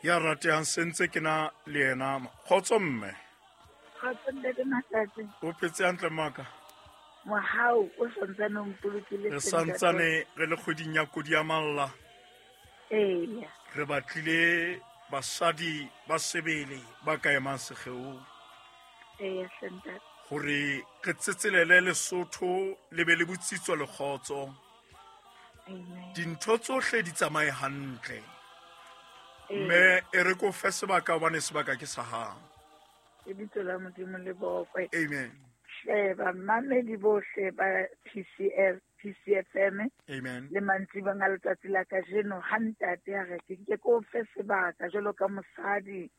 Ya ratehang sentse ke na le yena. Kgotso mme. Kgotso ntate Mahlatse. O phetse hantle maka? Mohau o santsane o mpolokile. Re santsane re le kgweding ya kodi ya malla. Eya. Re batlile basadi ba sebele ba ka emang sekgeong. Eya ntate. Hore re tsetselele Lesotho le be le botsitso le kgotso. Amen. Dintho tsohle di tsamaye hantle. Mme e re ko fe sebaka hobane sebaka ke sa hao. Lebitso la Modimo le bokwe. Amen. Hle bamamedi bohle ba PCF, PCFM. Amen. Le mantsibang a letsatsi la kajeno ha ntate a re ke nke ko fe sebaka jwalo ka mosadi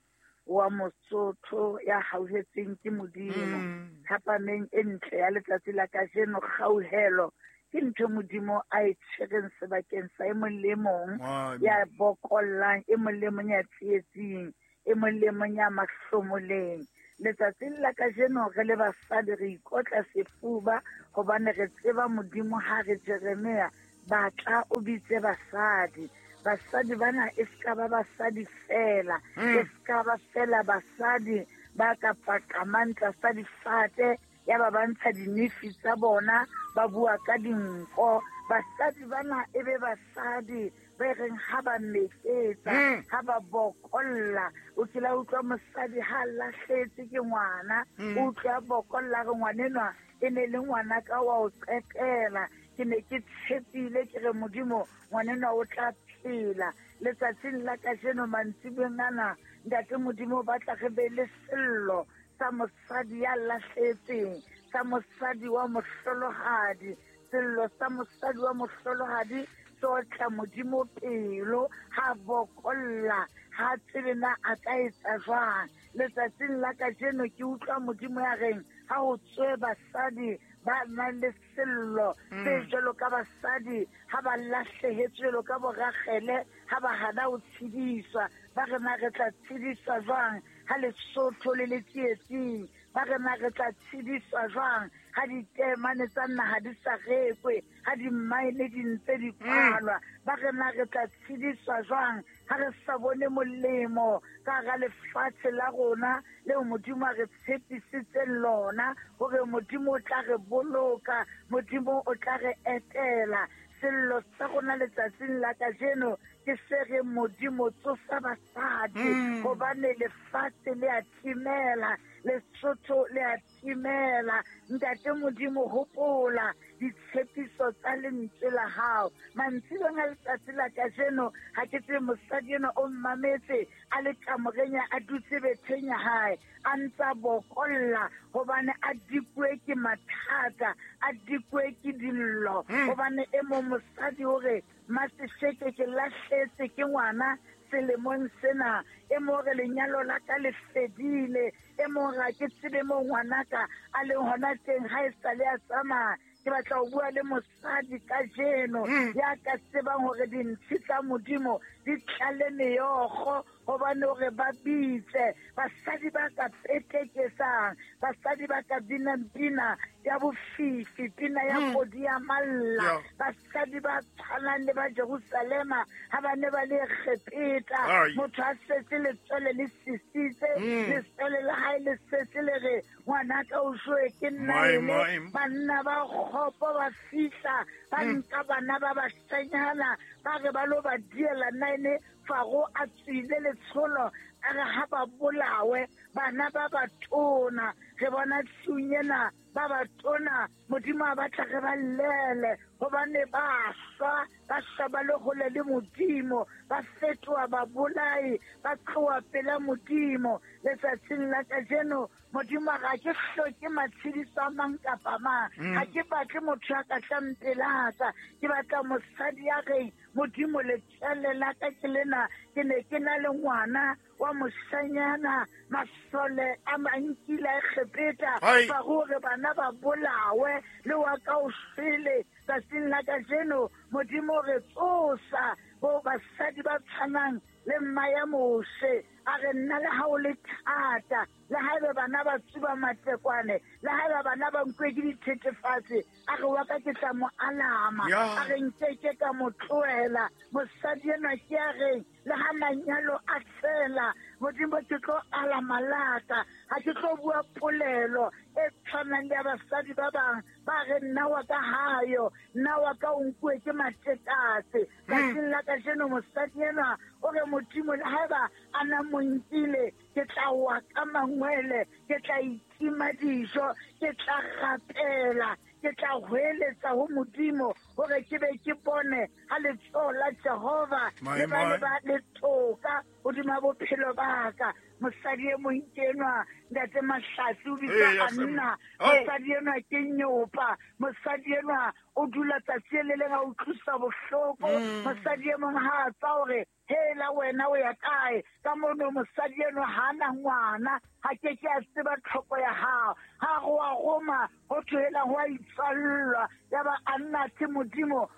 wa Mosotho ya hauhetseng ke Modimo. Thapameng e ntle ya letsatsi la kajeno, kgauhelo ke ntho Modimo a e tshwereng sebakeng sa e mong le mong ya bokollang, e mong le mong ya tsietsing, e mong le mong ya mahlomoleng. Letsatsing la kajeno re le basadi re ikotla sefuba hobane re tseba Modimo ha re Jeremia batla o bitse basadi. Basadi bana e ska ba basadi fela, e ska ba fela basadi ba ka paqamang tlasa difate ya ba ba ntsha dinefi tsa bona ba bua ka dinko. Basadi bana e be basadi ba reng ha ba meketsa, ha ba bokolla. O kila utlwa mosadi ha lahletse ke ngwana, o utlwa bokolla re ngwanenwa e ne le ngwana ka wa o qetela. Ke ne ke tshepile ke re Modimo ngwanenwa o tla phela. Letsatsing la kajeno mantsibeng ana ntate Modimo o batla re be le sello sa mosadi ya lahletseng, sa mosadi wa mohlolohadi. Sello sa mosadi wa mohlolohadi se otla Modimo pelo ha bokolla, ha tsebe na a ka etsa jwang. Letsatsing la kajeno ke utlwa Modimo ya reng ha ho tswe basadi ba nang le sello se jwalo ka basadi ha ba lahlehetswe jwalo ka boragele, ha ba hana ho tshediswa. Ba re na re tla tshediswa jwang ha Lesotho le le tsietsing? Ba re na re tla tshediswa jwang ha ditemane tsa naha di sa rekwe, ha dimmaene di ntse di kwalwa? Ba re na re tla tshediswa jwang ha re sa bone molemo ka hara lefatshe la rona leo Modimo a re tshepisitseng lona, hore Modimo o tla re boloka, Modimo o tla re etela. Sello sa rona letsatsing la kajeno ke se reng Modimo tsosa basadi, hobane lefatshe le a timela, Lesotho le a timela. Ntate Modimo hopola ditshepiso tsa lentswe la hao. Mantsibeng a letsatsi la kajeno ha ke tsebe mosadi enwa o mmametse a le kamoreng ya a dutse betheng ya hae, a ntsa bokolla hobane a dikuwe ke mathata, a dikuwe ke dillo. Hobane e mong mosadi o re Masesheke ke lahletse ke ngwana selemong sena, e mong re lenyalo la ka le fedile, e mong ga ke tsebe mo ngwanaka a leng hona teng ha e sale a tsamaya. Ke batla ho bua le mosadi kajeno ya ka tsebang hore dintshi tsa Modimo di tlale meokgo, hobane hore ba bitse basadi ba ka petekesang, basadi ba ka binang pina ya bofifi, pina ya kodi ya malla, basadi ba tshwanang le ba Jerusalema ha ba ne ba le Egepeta. Motho a setse letswele le sisitse, letswele la hae le setse le re ngwanaka o joe ke nna ene. Banna ba kgopo ba fihla ba nka bana ba bashanyana ba re ba lo ba diela nine. Faro a tswile letsholo a re ha ba bolawe bana ba batona. Re bona tsung ena ba batona Modimo a batla re ba llele hobane ba shwa, ba shwa ba le hole le Modimo, ba fetoha babolai, ba tloha pela Modimo. Letsatsing la kajeno Modimo a re ha ke hloke matshediso a mang kapa mang, ha ke batle motho ya ka tlang pelaka, ke batla mosadi ya reng Modimo letswele la ka ke lena, ke ne ke na le ngwana wa moshanyana, masole a mankile a Egepeta, ba hore bana ba bolawe, le wa ka o shwele. Tsatsing la kajeno Modimo re tsosa bo basadi ba tshwanang le mma ya Moshe, a re nna le ha o le thata. Le haeba bana ba tsuba matekwane, le haeba bana ba nkuwe ke dithethefatsi, a re wa ka ke tla mo alama, a re nkeke ka mo tlohela. Mosadi enwa ke a reng le ha manyalo a fela, Modimo ke tlo alama laka, ha ke tlo bua polelo e tshwanang le ya basadi ba bang ba re nna wa ka hayo, nna wa ka o nkuwe ke matekatse. Tsatsing la kajeno mosadi enwa o re Modimo le haeba a na mo nkile, ke tla wa ka mangwele, ke tla itima dijo, ke tla rapela, ke tla hweletsa ho Modimo hore ke be ke bone ha letsoho la Jehova le ba le ba le toka hodima bophelo ba ka. Mosadi e mong ke enwa, Ntate Mahlatsi, o bitswa Anna. Mosadi enwa ke nyopa, mosadi enwa o dula tsatsi le leng a utlwisa bohloko. Mosadi e mong ha a tswa hore hela wena o ya kae, ka mono mosadi enwa ha na ngwana, ha ke ke a tseba tlhoko ya hao. Ha go a roma ho thoela ho a itswallwa, ya ba Anna ke Modimo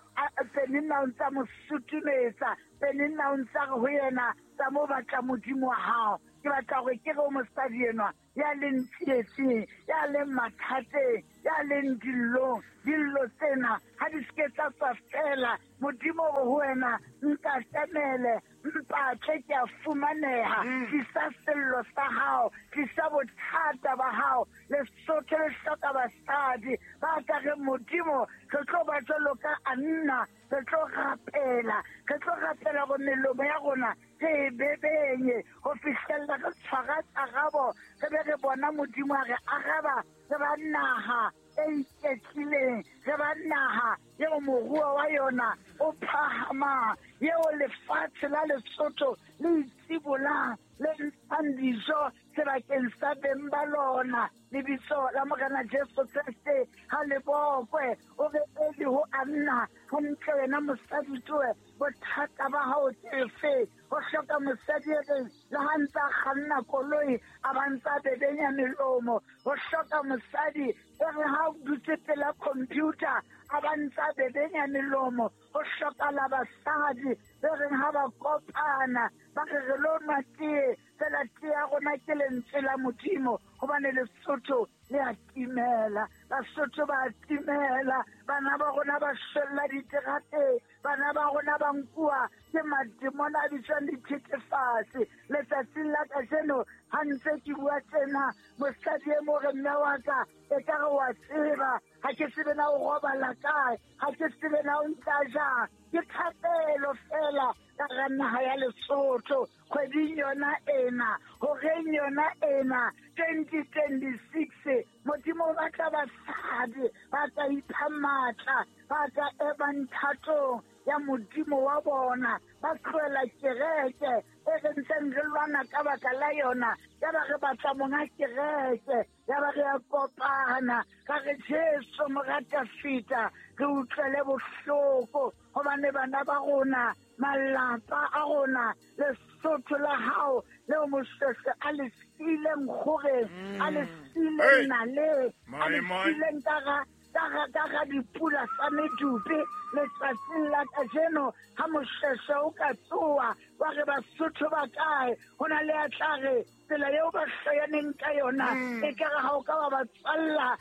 Penina o ntsa mo sutumetsa, Penina o ntsa re ho yena tsa mo batla Modimo wa hao. Ke batla hore ke re o mosadi enwa ya leng tsietsing, ya leng mathateng, ya leng dillong, dillo tsena ha di seke tsa tswa fela. Modimo o re ho wena, nkatamele, mpatle ke a fumaneha. Tlisa sello sa hao, tlisa bothata ba hao. Lesotho le hloka basadi ba ka reng Modimo re tlo ba jwalo ka Anna, re tlo rapela, re tlo rapela gore melomo ya rona re e bebenye ho fihlella re tshwara karabo, re be re bona Modimo a re araba. Re ba naha e iketlileng, re ba naha eo moruo wa yona o phahamang, eo lefatshe la Lesotho le itsibolang, le ntshang dijo sebakeng sa beng ba lona. Lebitso la Morena Jesu Kreste ha le bokwe. O re Eli ho Anna, hantle wena mosadi toe, bothata ba hao ke efe? Ho hloka mosadi e reng le ha ntse a kganna koloi a ba ntse a bebenya melomo. Ho hloka mosadi e re ha o dutse pela computer a ba ntse a bebenya melomo. Ho hlokala basadi be reng ha ba kopana ba re re lo nwa tee, fela tee ya rona ke lentswe la Modimo, hobane Lesotho le a timela, Basotho ba a timela, bana ba rona ba shwella diterateng, bana ba rona ba nkuwa ke mademona a bitswang dithethefatsi. Letsatsing la kajeno ha ntse ke bua tjena, mosadi e mo re mme wa ka e ka re wa tseba, ha ke tsebe na o robala kae, ha ke tsebe na o ntsa jang. Ke thapelo fela ka hara naha ya Lesotho kgweding yona ena, horeng yona ena 2026. Modimo o batla basadi ba ka ipha matla, ba ka emang thatong ya Modimo wa bona, ba tlohela kereke e re ntseng re lwana ka baka la yona. Ya ba re batla monga kereke, ya ba re a kopana, ka re Jesu morata fita, re utlwele bohloko hobane bana ba rona, malapa a rona, Lesotho la hao leo Moshweshwe a le siileng kgoreng, a le siileng naleng, a le siileng ka ga dipula tsa medupe. Letsatsing la kajeno ha Moshweshwe o ka tsoa wa re Basotho ba kae, ho na le a tla re tsela eo ba hloyaneng ka yona e ka re ha o ka wa ba tswalla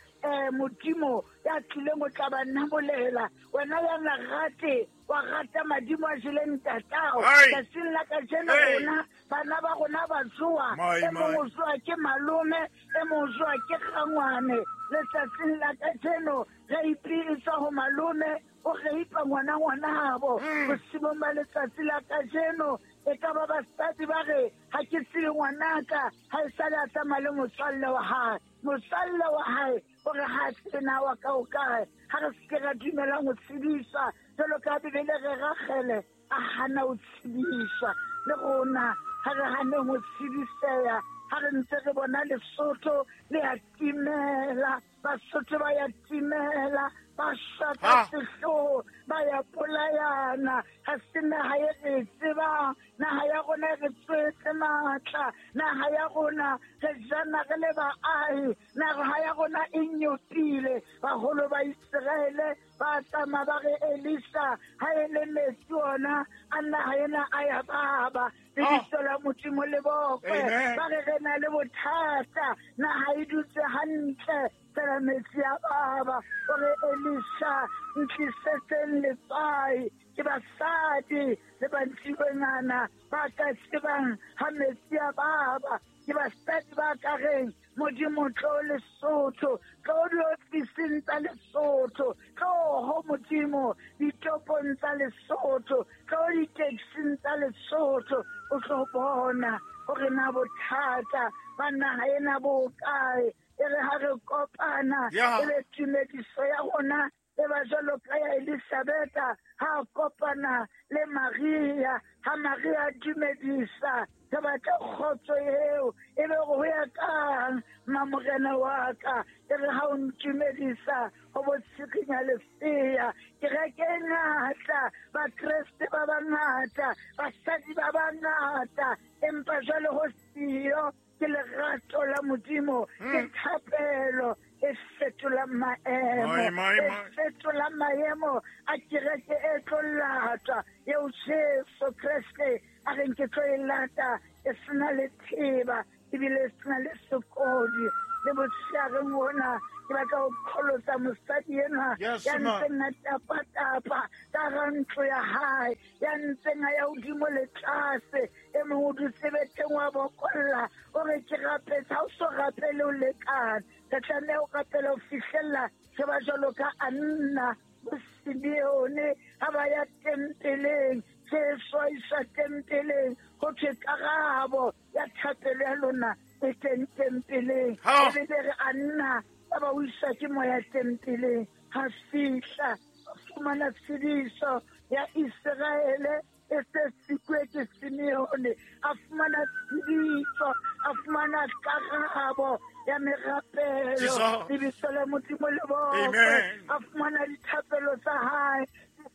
Modimo ya tlileng o tla ba namolela. Wena ya na rate wa rata madimo a jeleng ntatao. Tsatsing la kajeno rona bana ba rona ba jowa, e mong o jowa ke malome, e mong o jowa ke kgangwane. Letsatsing la kajeno reipi e tswa ho malome, o reipa ngwana ngwanabo. Bosiung ba letsatsi la kajeno e ka ba basadi ba re ha ke tsebe ngwanaka ha e sale a tsamaya le motswalle wa hae. Motswalle wa hae o re ha tsebe na wa ka o kae. Ha re seke ra dumelang ho tshediswa jwalo ka Bibele re Ragele a hana ho tshediswa. Le rona ha re haneng ho tshediseha, ha re ntse re bona Lesotho le a timela, Basotho ba ya timela, ba shwa ka sehloho, ba ya bolayana. Ha se naha e re e tsebang, naha ya rona e re tswetse matla, naha ya rona re jana re le baahi, naha ya rona e nyopile. Baholo ba Iseraele Ba tsamaya ba re Elisa ha e le metsi ona a naha ena a ya baba. Lebitso la Modimo le bokwe. Ba re re na le bothata, naha e dutse hantle, fela metsi a baba. O re Elisa ntlisetseng letswai. Ke basadi le bantsiwengana ba ka tsebang ha metsi a baba. Ke basadi ba ka reng Modimo tlo Lesotho, tlo diofising tsa Lesotho, tlo ho Modimo ditopong tsa Lesotho, tlo di-taxing tsa Lesotho, o tlo bona hore na bothata ba naha ena bo kae. E re ha re kopana, e be tumediso ya rona e ba jwalo ka ya Elisabetha ha kopana le Maria, ha Maria a dumedisa, re batla kgotso eo, e be ho ya kang mamorena wa ka, e re ha o ntumedisa ho bo tshikinya lesea. Kereke e ngata, Bakreste ba bangata, basadi ba bangata, empa jwale ho siyo ke lerato la Modimo, ke thapelo e fetolang maemo, e fetolang maemo a kereke e tlo latwa eo Jesu Kreste a reng ke tlo e lata e sena le theba ebile e sena le sekodi. Le botsheareng ona ke batla ho qholotsa mosadi enwa ya ntseng a tapa-tapa ka hara ntlo ya hae, ya ntseng a ya hodimo le tlase. E mong o dutse betheng wa bokolla, o re ke rapetse, ha o so rapele o lekane. Re tlameha ho rapela ho fihlella re ba jwalo ka Anna bo Simeone ha ba ya tempeleng. Jesu a iswa tempeleng, ho thwe karabo ya thapelo ya lona e teng tempeleng. Ebile re Anna ba ba o iswa ke moya tempeleng. Ha fihla a fumana tshediso ya Iseraele e se sikwe ke Simeone, a fumana tshediso, a fumana karabo ya merapelo. Lebitso la Modimo le bokwe. A fumana dithapelo tsa hae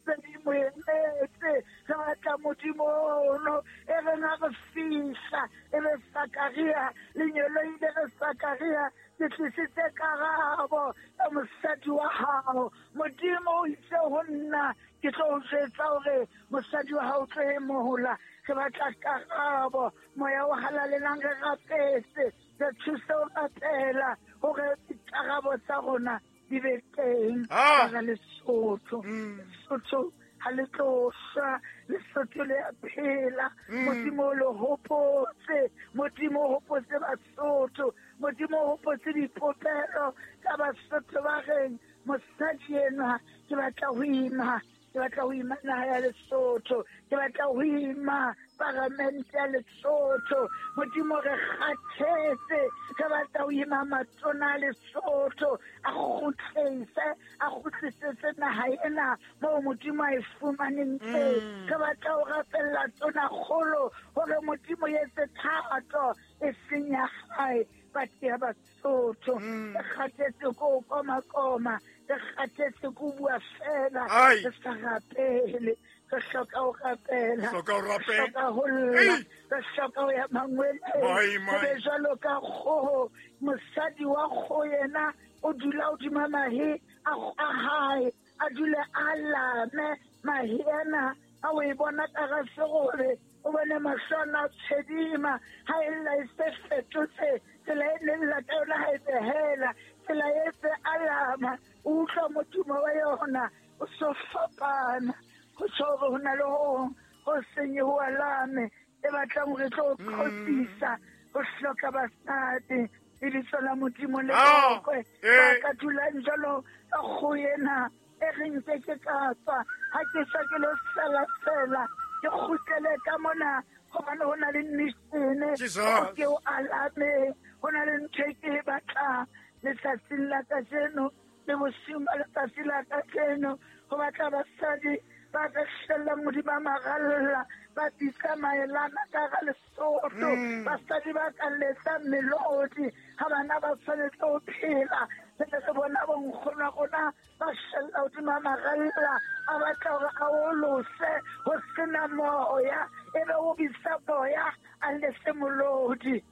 se di mo emetse. Re batla Modimo ono e reng ha re fihla e be Sakaria, lengeloi le re Sakaria, ke tlisitse karabo ya mosadi wa hao. Modimo o itse ho nna ke tlo o jwetsa hore mosadi wa hao o tlo emola. Re batla karabo, moya o halalelang re rapetse, re thuse ho rapela hore dikarabo tsa rona di be teng ka Lesotho. Lesotho ha le tlo shwa, Lesotho le a phela. Modimo o le hopotse, Modimo o hopotse Basotho, Modimo o hopotse dipopelo tsa Basotho ba reng mosadi enwa ke batla ho ima, ke batla ho ima naha ya Lesotho, ke batla ho ima paramente ya Lesotho. Modimo re kgathetse, re batla ho ima matona a Lesotho, a kgutlise, a kgutlisetse naha ena moo Modimo a e fumaneng teng. Re batla ho rapella tonakgolo hore Modimo etse thato e seng ya hae, but ya Basotho. Re kgathetse ko koma-koma, re kgathetse ko bua fela, re sa rapele. Re hloka ho rapela, re hloka ho lla, re hloka ho ya mangweleng. Re be jwalo ka kgoho, mosadi wa kgoho yena o dula hodima mahe a hae, a dule a lame mahe ana, a o e bona ka hara serole, o bone mahlo ana a tshedima. Ha e lla e se fetotse tsela e neng lla ka yona, ha e behela tsela e se alama, o utlwa modumo wa yona o so fapana. Ho tjho hore ho na le ho ho seng ho alame e batlang hore tlo qhotsisa ho hloka basadi. Lebitso la Modimo le bokwe. Ba ka dulang jwalo ka kgoho ena e reng ke ke ka tswa, ha ke tswa ke lo sela sela, ke kgutlele ka mona hobane ho na le mission ke o alame, ho na le ntho e ke e batlang letsatsing la kajeno le bosiung ba letsatsi la kajeno. Ho batla basadi ba ka hlellang hodima maralla, ba bitsa maelana ka hara Lesotho, basadi ba ka letsang melodi ha bana ba tshwanetse ho phela. Re ne re bona bonkgono wa rona ba hlella hodima maralla, a batla hore a olose ho sena moya, ebe o bitsa moya a lese molodi.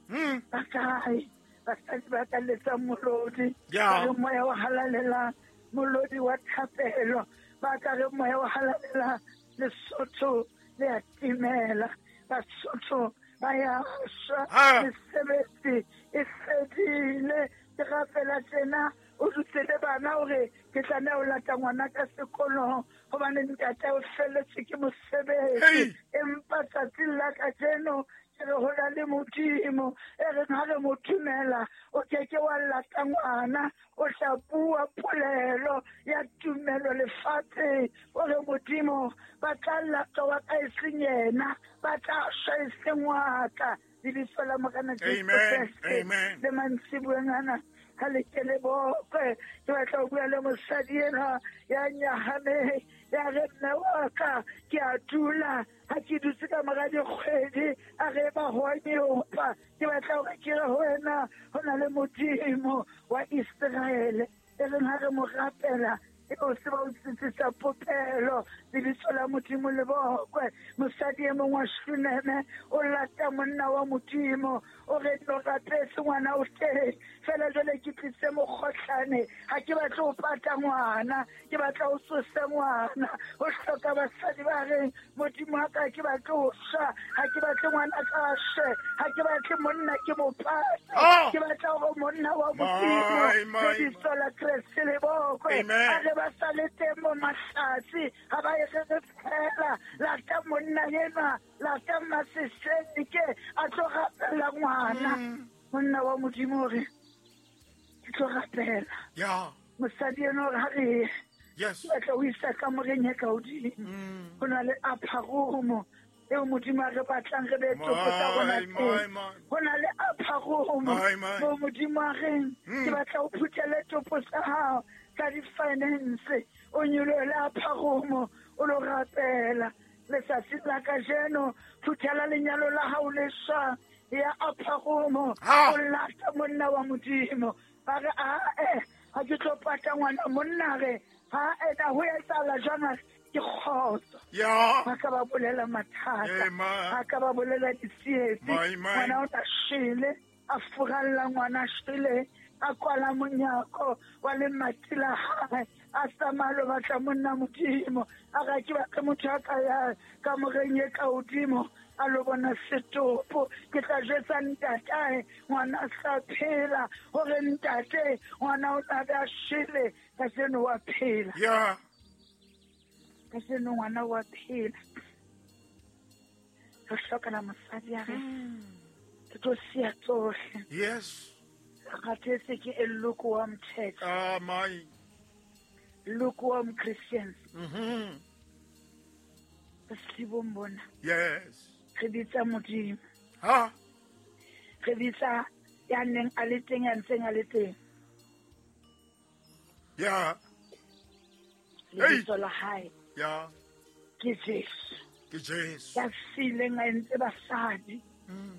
Ba kae basadi ba ka letsang molodi? Ba re moya o halalelang Molodi wa thapelo ba ka re moya o halalela Lesotho le a timela. Basotho ba ya shwa. Mesebetsi e fedile. Ke rapela tjena o dutse le bana hore ke tlameha ho lata ngwana ka sekolong hobane ntate o felletswe ke mosebetsi. Empa tsatsing la kajeno ke re ho na le Modimo e reng ha re mo dumela o ke ke wa lata ngwana, o tla bua polelo ya tumelo lefatsheng. O re Modimo ba tla lata wa ka e seng yena, ba tla shwa e seng wa ka. Lebitso la Morena Jesu Kreste le mantsiboeng ana ha le ke le bokwe. Ke batla ho bua le mosadi enwa ya nyahameng, ya re mme wa ka ke a dula ha ke dutse ka mora dikgwedi, a re ba ho a nyopa. Ke batla hore ke re ho wena ho na le Modimo wa Iseraele e reng ha re mo rapela e o se ba o tsitsisa popelo. Lebitso la Modimo le bokwe. Mosadi e mong wa Shuneme o lata monna wa Modimo, o re no rapetse ngwana o teng fela jwale ke tlise mokgohlane, ha ke batle ho pata ngwana, ke batla ho tsose ngwana. Ho hloka basadi ba reng Modimo wa ka ke batle ho shwa, ha ke batle ngwana ka shwe, ha ke batle monna ke mo pate, ke batla hore monna wa Modimo lebitso la Kreste le bokwe. A re ba sa le teng mo mahlatsi ha ba e re re fela, lata monna enwa, lata Maseseke a tlo rapela ngwana. Monna wa Modimo o re ke tlo rapela. Mosadi enwa o re ha re Yes. Batla ho isa kamoreng e ka hodimo. Ho na le upper room eo Modimo a re batlang re be topo tsa rona teng. Ho na le upper room moo Modimo a reng ke batla o phuthele topo tsa hao tsa di-finance, o nyolohele upper room o lo rapela. Letsatsi la kajeno phuthela lenyalo la hao le shwa ya upper room o lata monna wa Modimo. Ba re ae ha ke tlo pata ngwana monna re ha ena ho etsahala jwang ke kgotso. Ba ka ba bolela mathata, ba ka ba bolela ditsietsi. Ngwana o na shwele, a furalla ngwana shwele, a kwala monyako wa lemati la hae, a tsamaya lo batla monna Modimo. A re ke batle motho a ka ya kamoreng e ka hodimo a lo bona setopo. Ke tla jwetsa ntatae ngwana a sa phela hore ntate ngwana o tla be a shwele, kajeno wa phela. Kajeno ngwana wa phela. Re hlokela mosadi a re ke tlo siya tsohle. Yes. Re kgathetse ke a lukewarm church. Lukewarm Christians. Bosibong bona. Yes. Re bitsa Modimo. Re bitsa ya neng a le teng, ya ntseng a le teng. Lebitso la hae. Ke Jesu. Ke Jesu. Ya sileng a entse basadi.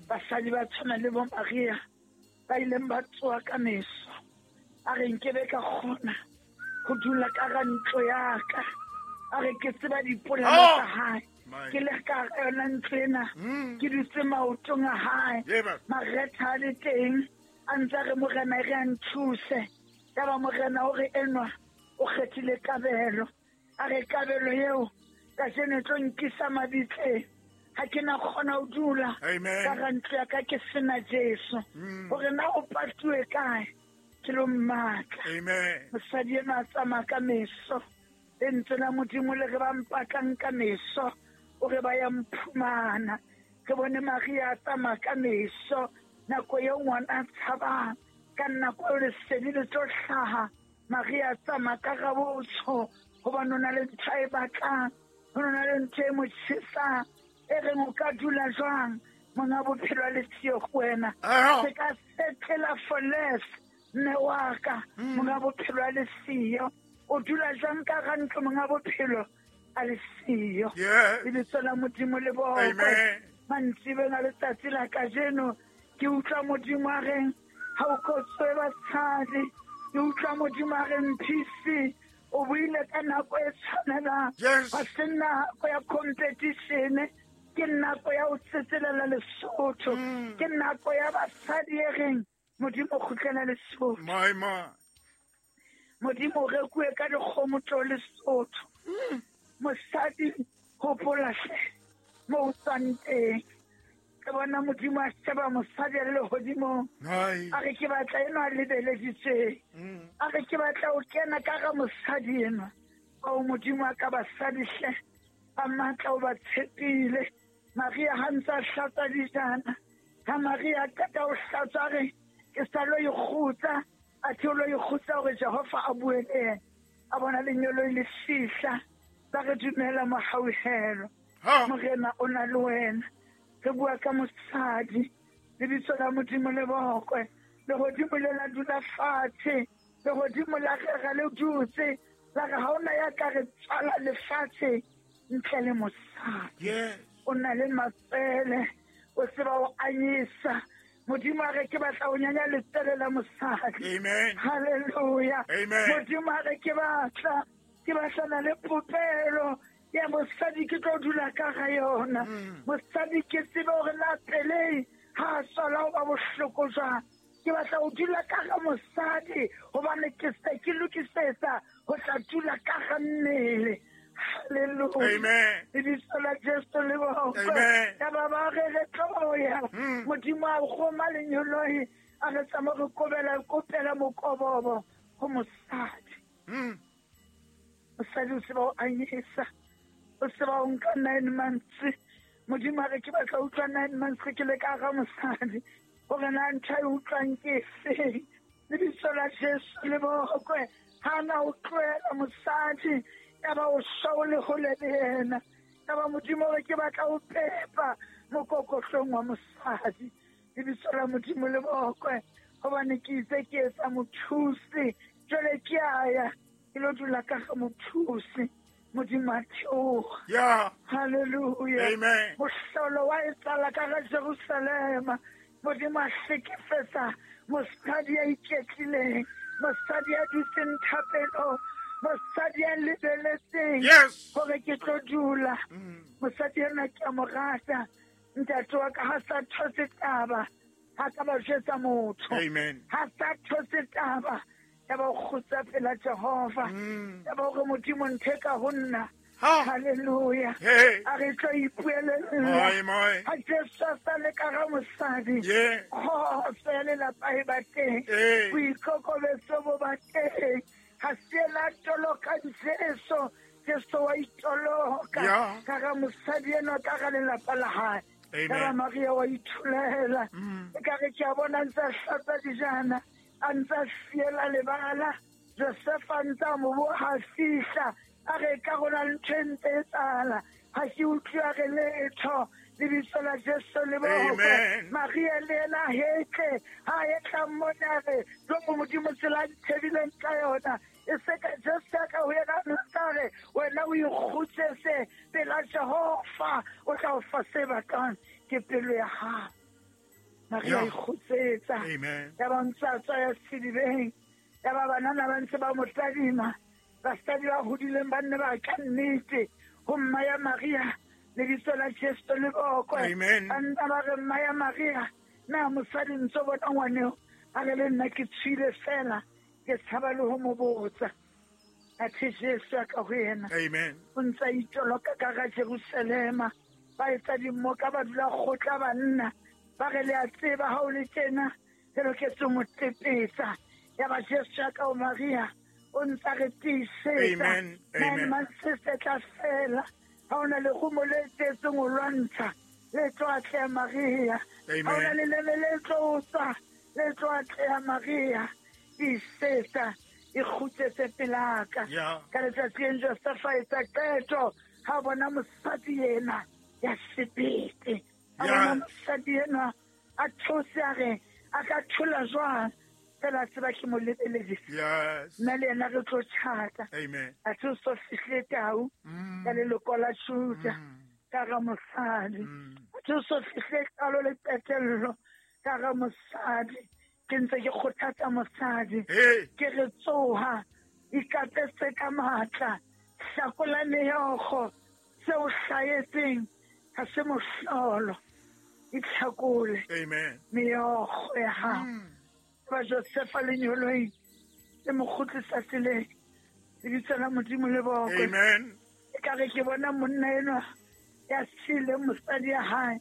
Basadi ba tshwana le bo Maria ba ileng ba tsoha ka meso. A re nkebe ka kgona ho dula ka hara ntlo ya ka. A re ke tseba dipolelo tsa hae. Ke le ka hara yona ntlo ena. Ke dutse maotong a hae. Maretha a le teng. A ntse a re Morena e re a nthuse. Yaba Morena o re enwa o kgethile kabelo. A re kabelo eo kajeno e tlo nkisa mabitleng. Ha ke na kgona ho dula ka hara ntlo ya ka ke sena Jesu. Hore na o patuwe kae ke lo mmatla. Mosadi enwa a tsamaya ka meso. Lentswe la Modimo le re ba mpatlang ka meso, o re ba ya mphumana. Re bone Maria a tsamaya ka meso nako eo ngwana a tshabang, ka nako eo lesedi le tlo hlaha. Maria a tsamaya ka rabotsho hobane o na le ntho a e batlang, ho na le ntho e mo tjhesang e reng o ka dula jwang monga bophelo a le siyo ho wena. Se ka setlela for less mme wa ka monga bophelo a le siyo. O dula jwang ka hara ntlo monga bophelo a le siyo. Lebitso la Modimo le bokwe. Mantsibeng a letsatsi la kajeno ke utlwa Modimo a reng ha o kotswe basadi. Ke utlwa Modimo a reng PC o buile ka nako e tshwanelang. Ha se nako ya competition, ke nako ya ho tsetselela Lesotho. Ke nako ya basadi e reng Modimo kgutlela Lesotho. Modimo o rekuwe ka dikgomo tlo Lesotho. Mosadi hopola hle mo o tswang teng. Ke bona Modimo a sheba mosadi a le lehodimong. A re ke batla enwa a lebeleditsweng. A re ke batla o kena ka ga mosadi enwa. Ao Modimo a ka basadi hle ba matla o ba tshepile. Maria ha ntse a hlatswa dijana. Ha Maria a qeta ho hlatswa a re ke sa lo ikgutsa. A the o lo ikgutsa hore Jehova a bue le yena. A bona lenyoloi le fihla. Ba re dumela mohauhelo. Morena o na le wena. Re bua ka mosadi. Lebitso la Modimo le bokwe. Lehodimo le la dula fatshe. Lehodimo la rera le dutse. La re ha ona ya ka re tswala lefatshe ntle le mosadi. O na le matswele. O tseba o anyisa. Modimo a re ke batla o nyanya letswele la mosadi. Amen. Hallelujah. Amen. Modimo a re ke batla ke batlana le popelo ya mosadi ke tlo dula ka ga yona. Mosadi ke tsebe hore na pelei ha a tswala ho ba bohloko jwang. Ke batla ho dula ka ga mosadi hobane ke se ke lokisetsa ho tla dula ka ga mmele. Hallelujah. Amen. Lebitso la Jesu le bokwe. Amen. Ya ba ba re re tlo ya. Modimo a roma lenyoloi a re tsamaya re kobela kopela mokobobo ho mosadi. Mosadi o tseba ho anyesa. O tseba ho nka 9 months. Modimo a re ke batla utlwa 9 months ke le ka ga mosadi. Hore na ntho e utlwang ke efeng. Lebitso la Jesu le bokwe. Ha na o tlohela mosadi. Ya ba o shwa o le hole le yena. Ya ba Modimo re ke batla o pepa mokokotlong wa mosadi. Lebitso la Modimo le bokwe. Hobane ke itse ke etsa mothusi. Jwale ke a ya ke lo dula ka ga mothusi. Modimo a theoha. Yeah. Hallelujah. Amen. Mohlolo wa etsahala ka ga Jerusalema. Modimo a hlekefetsa mosadi ya iketlileng, mosadi ya dutseng thapelong, mosadi ya lebeletseng hore ke tlo dula. Mosadi enwa ke a mo rata. Ntate wa ka ha sa those taba, ha ka ba jwetsa motho. Amen. Ha sa those taba, ya ba o kgutsa pela Jehova. Ya ba hore Modimo ntho e ka ho nna. Hallelujah. Hey. A re tlo ipuelella. Moi, moi. Ha Jesu a sa le ka ga mosadi. Yeah. Kgotso ya lelapa e ba teng. Hey. Boikokobetso bo ba teng. Ha se la toloka Jesu. Jesu wa itoloka. Yeah. Ka ga mosadi enwa, ka ga lelapa la hae. Amen. Ka ga Maria wa ithulela. E ka re ke a bona ntse a hlatsa dijana, a ntse a fiela lebala. Josefa ntse a mo boha fihla. A re ka rona ntho e ntse e tsala. Ha ke utlwe a re letho. Lebitso la Jesu le bokwe. Amen. Maria le yena hetle. Ha e tla mmona a re, Jwang Modimo tsela a nthebileng ka yona. E se ka Jesu ya ka ho yena a nka re, wena o ikgutsetse pela Jehova, o tla o fa se batlang ke pelo ya hao. Maria Yeah. ikgutsetsa. Amen. Ya ba ntse a tswa ya sedibeng. Ya ba banana ba ntse ba mo tadima. Basadi ba hodileng ba nne ba ka nnete ho mma ya Maria, lebitso la Jesu le bokwe. Amen. Ba nna ba re mma ya Maria, na mosadi ntso bona ngwaneo? A re le nna ke tswile fela, ke tshaba le ho mo botsa. Athe Jesu a ka ho yena. Amen. O ntse a itoloka ka ga Jerusalema. Ba etsa dimmoka, ba dula kgotla banna. Ba re le a tseba ha o le tjena, re loketse ho mo tlepetsa. Ya ba Jesu a ka ho Maria, o ntse a re tiisetsa. Amen. Nine Amen. months se tla fela. Ha ona lerumo le tletseng ho lwantsha, le tlo atleha Maria. Amen. Ha ona leleme le tlo tswa, le tlo atleha Maria. Tiisetsa, e kgutsetse pelaka. Yeah. Ka letsatsi leng Josefa a etsa qeto, ha bona mosadi ena ya sebete. A Yeah. bona mosadi enwa a those a re, a ka thola jwang? Fela tseba ke mo lebeledisa. Yes. Nna le yena re tlo tjhata. Amen. A se o so fihle tau ka leloko la Juda ka ga mosadi. A se o so fihle qalo le qetello ka ga mosadi. Ke ntse ke kgothatsa mosadi. Hey. Ke re tsoha, ikapese ka matla, hlakola meokgo, seo hlahetseng ha se mohlolo. Itlhakole Amen. meokgo ya hao. Ba Josefa lenyoloi Le mo kgutlisa tseleng. Lebitso la Modimo le bokwe. Amen. Ekare ke bona monna enwa ya siileng mosadi ya hae.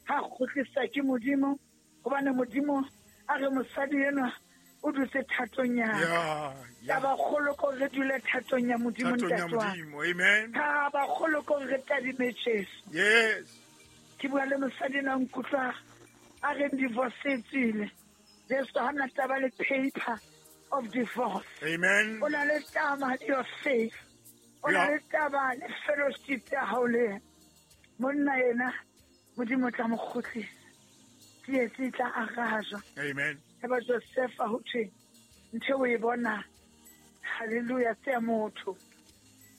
Ha kgutlisa ke Modimo, hobane Modimo a re mosadi enwa o dutse thatong ya ka. Taba kgolo ke hore re dule thatong ya Modimo, ntate wa ka. Amen. Taba kgolo ke hore re tadime Jesu. Yes. Ke bua le mosadi enwa nkutlwa a reng divorce e tswile. Jesu ha na taba le paper of divorce. Amen. O na le taba le your faith. O na le taba le fellowship ya hao le yena. Monna yena Modimo o tla mo kgutlisa. Tsietsi e tla arajwa. Amen. Eba Josefa ho thwe ntho o e bona, hallelujah, se ya motho.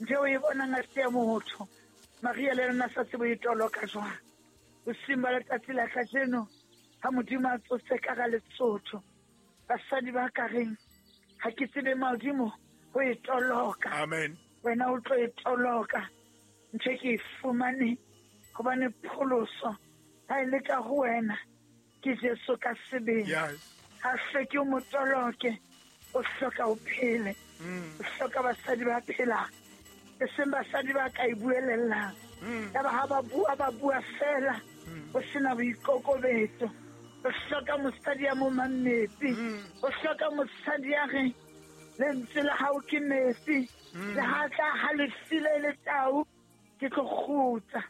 Ntho o e bonang ha se ya motho. Maria le yena sa tsebo e toloka jwang. Bosiung ba letsatsi la kajeno ha Modimo a tsose ka ga Lesotho, basadi ba ka reng ha ke tsebe Modimo ho e toloka. Amen. Wena o tlo e toloka. Ntho e ke e fumane hobane pholoso ha e le ka ho wena ke Jesu ka sebele. Yes. Ha hloke o mo toloke, o hloka o phele. O hloka basadi ba phelang, e seng basadi ba ka e buelellang. Yaba ha ba bua, ba bua fela, o sena boikokobetso. O hloka mosadi ya momang metsi. O hloka mosadi ya reng lentswe la hao ke metsi. Le ha tla halefile le tau, ke tlo kgutsa.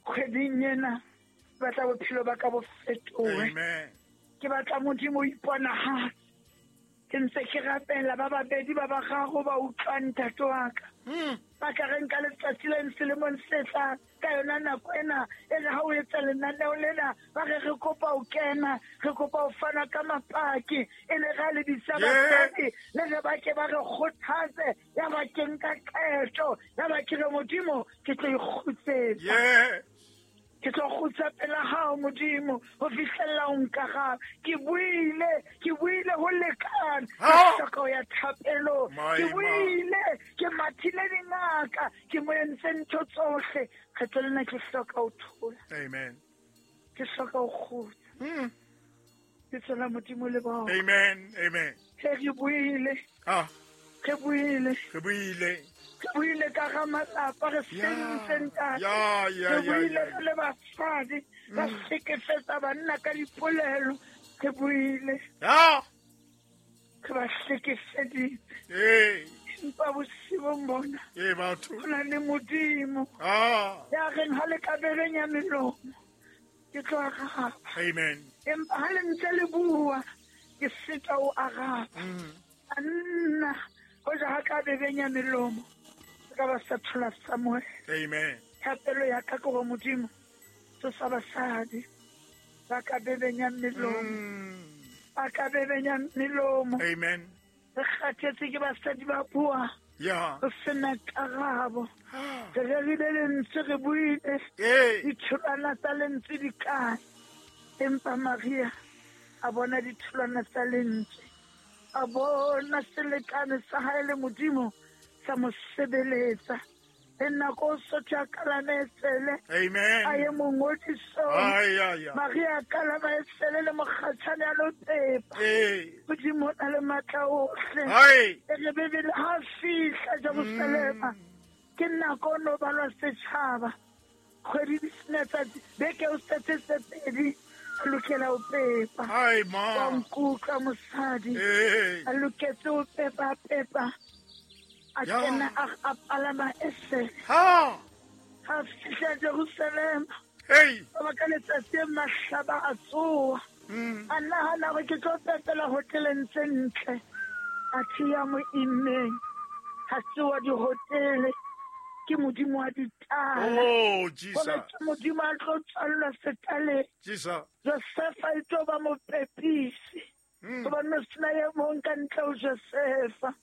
Kgweding ena ke batla bophelo ba ka bo fetohe. Amen. Ke batla Modimo o iponahatse. Ke ntse ke rapela ba babedi ba bararo ba utlwang ntate wa ka. Ba ka reng ka letsatsi le selemong se tlang ka yona nako ena e re ha o etsa lenaneo lena ba re re kopa ho kena, re kopa ho fana ka mapaki e le ra lebisa basadi le re ba ke ba re kgothatse ya ba ke nka qeto ya ba ke re Modimo ke tlo ikgutsetsa. Yes. Ke tlo kgutsa pela hao Modimo ho fihlella o nkaraba. Ke buile ho lekane. Ke hloka ho ya thapelong. Ke buile, ke mathile dingaka, ke mo entse ntho tsohle. Kgetlo lena ke hloka ho thola. Amen. Ke hloka ho kgutsa. Ke tswela Modimo le bona. Amen. Amen. Re buile. Re buile. Re buile. Re buile ka ga malapa, re sentse ntate. Re buile re le basadi, ba hlekefetsa banna ka dipolelo. Re buile. Re ba hlekefeditse. Empa bosiung bona, ho na le Modimo. Ya reng ha le ka bebenya melomo, ke tlo araba. Amen. Empa ha le ntse le bua, ke sita ho araba. Anna, hoja ha ka bebenya melomo, ka ba sa thola Samuel. Amen. Thapelo ya ka ke hore Modimo tsosa basadi ba ka bebenya melomo. Ba ka bebenya melomo. Amen. Re kgathetse ke basadi ba bua. Yeah. Re sena karabo. Re rerile lentswe, re buile. Ditholwana tsa lentswe di kae? Empa Maria a bona ditholwana tsa lentswe. A bona selekane sa hae le Modimo sa mo sebeletsa. Le nako o sotho a kalama esele. Amen. A ye mongodisong. Maria a kalama esele le mokgatshane a lo pepa. Modimo o na le matla ohle. E re Bibele ha fihla Jerusalema, ke nako o no balwa setjhaba. Kgwedi di sena tsatsi, beke o setse tse pedi, a lokela ho pepa. Wa nkutlwa mosadi. A loketse ho pepa, pepa. A kena a palama esele. Ha fihla Jerusalema. Ba ka letsatsi e mahlaba a tsoha. A nahana hore ke tlo pepela hoteleng tse ntle. A thiya mo immeng. Ha se wa dihotele. Ke Modimo wa ditala. Oh, Jesus. Hore ke Modimo a tlo tswallwa setaleng. Jesus. Josefa e tlo ba mopepisi. Hobane ho sena e mong ka ntle ho Josefa.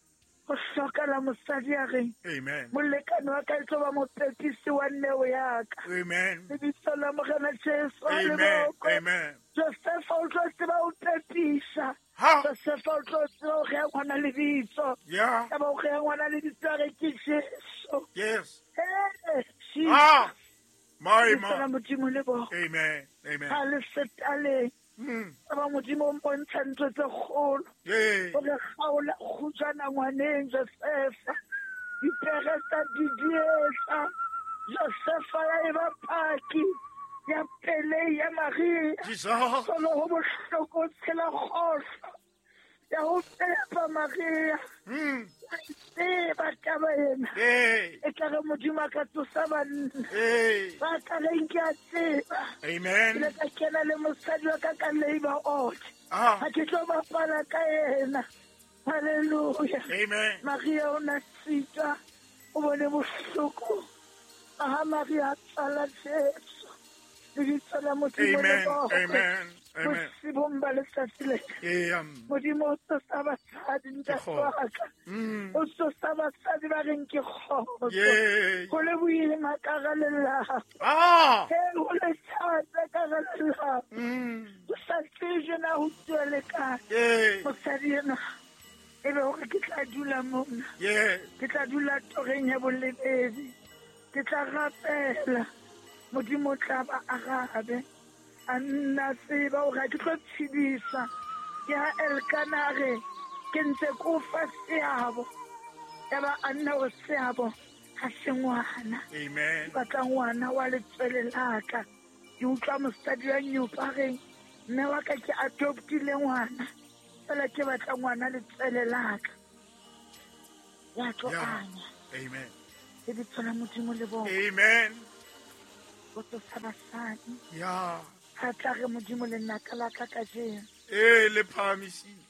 Ho hlokala mosadi ya reng. Amen. Molekane wa ka e tlo ba mopepisi wa neo ya ka. Amen. Lebitso la Morena Jesu a le Amen. bokwe. Amen. Josefa o tlo tseba ho pepisa. Josefa o tlo tseba ho rea ngwana lebitso. Yeah. Ya ba ho rea ngwana lebitso a re ke Jesu. Yes. Hey, Jesus. My Lebitso la ma. Modimo le bokwe. Amen. Amen. Ha le setaleng. Aba Modimo o mpontsha ntho tse kgolo. Hore kgaola kgutshwana ngwaneng Josefa. Dipere tsa didietsa. Josefa ya eba paki ya pelei ya Maria. Solo ho bohloko tshela kgohlo ya ho pepa Maria. Tseba taba ena. E tla re Modimo a ka tsosa banna. Ba ka reng ke a tseba. Amen. Ke ile ka kena le mosadi wa ka ka labor out. Ha ke tlo bapala ka yena. Hallelujah. Amen. Maria o na sitwa, o bone bohloko. Ha Maria a tswala Jesu. Lebitso la Modimo le bokwe. Amen. Amen. Bosibong ba letsatsi le. Modimo o tsosa basadi, ntate wa ka. O tsosa basadi ba reng ke kgotso. Ho le boima ka hara lelapa. Ho le thata ka hara lelapa. Ho sa tsejwe na ho tsuwa le kae. Mosadi enwa e be hore ke tla dula mona. Ke tla dula toreng ya bolebedi. Ke tla rapela. Modimo o tla ba arabe. A nna tseba hore ha ke tlo tshedisa. Ke ha Elkana a re, ke ntse ke o fa seabo. Yaba a nna hore seabo ha se ngwana. Amen. Ke batla ngwana wa letswele la ka. Ke utlwa mosadi wa nyopa a reng, mme wa ka ke adoptile ngwana. Fela ke batla ngwana letswele la ka. Ya tlo anya. Amen. Lebitso la Modimo le bokwe. Amen. O tsosa basadi. Ha tla re Modimo le nna ka la ka kajeno. Le phahamisitswe.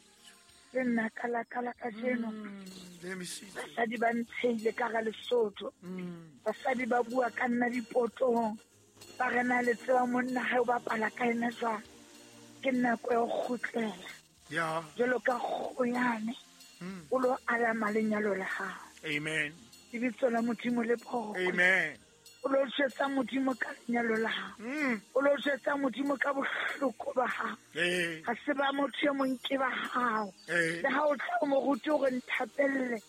Le nna ka la ka la kajeno. Le emisitswe. Basadi ba ntsheile ka ga Lesotho. Basadi ba bua ka nna dipotong. Ba re na le tseba monna ha o bapala ka ena jwang. Ke nako ya ho kgutlela. Jwalo ka kgoyane. O lo alama lenyalo la hao. Amen. Lebitso la Modimo le bokwe. Amen. O lo jwetsa Modimo ka lenyalo la hao. O lo jwetsa Modimo ka bohloko ba hao. Ha se ba motho e mong ke ba hao. Le ha o tla o mo rute hore nthapelle,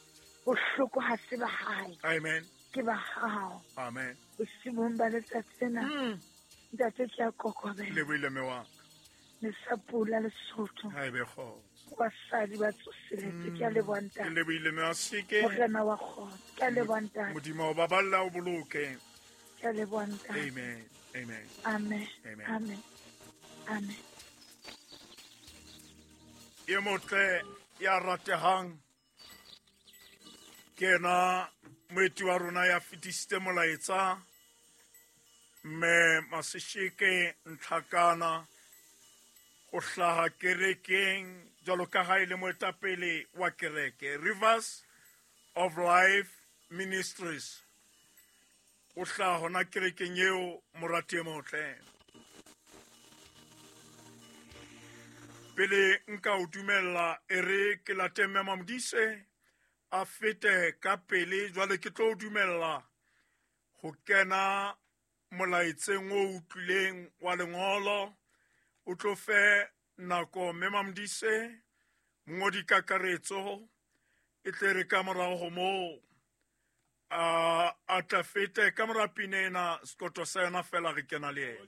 bohloko ha se ba hae. Amen. Ke ba hao. Amen. Bosiung ba letsatsi lena, ntate ke a kokobela. Le buile mme wa ka. Le sa pula Lesotho. Ha e be kgotso. Basadi ba tsoseletse, ke a leboha ntate. Ke lebohile mme wa seke. Morena wa kgotso, ke a leboha ntate. Modimo o baballa o boloke. Ke a leboha ntate. Amen. Amen. Amen. Amen. Amen. Amen. E motle ya ratehang ke ena moeti wa rona ya fetisitse molaetsa, mme Masesheke Ntlhakana ho hlaha kerekeng jwalo ka ha e le moetapele wa kereke Rivers of Life Ministries. O hlaha hona kerekeng eo, morati e motle. Pele nka o dumella, e re ke late mme Mamodise a fete ka pele, jwale ke tlo o dumella ho kena molaetseng o utlwileng wa lengolo. O tlo fe nako mme Mamodise, mongodi kakaretso, e tle re ka morao ho moo, a tla fete ka mora pina ena, sekoto sa yona fela re kena le yena.